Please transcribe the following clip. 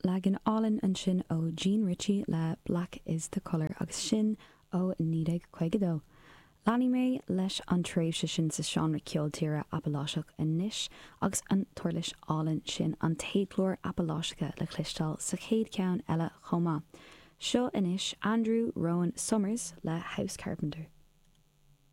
Leagan álainn ansin ó Jean Ritchie le Black is the Colour agus sin ó 1952. Leanfaidh mé leis an tréimhse sin sa seánra ceol tíre Apaláiseach anois agus an t-uirlis álainn sin, an téadghlór Apaláiseacha le cloisteáil sa chéad cheann eile chomh maith. Seo anois Andrew Rowan Sommers le House Carpenter.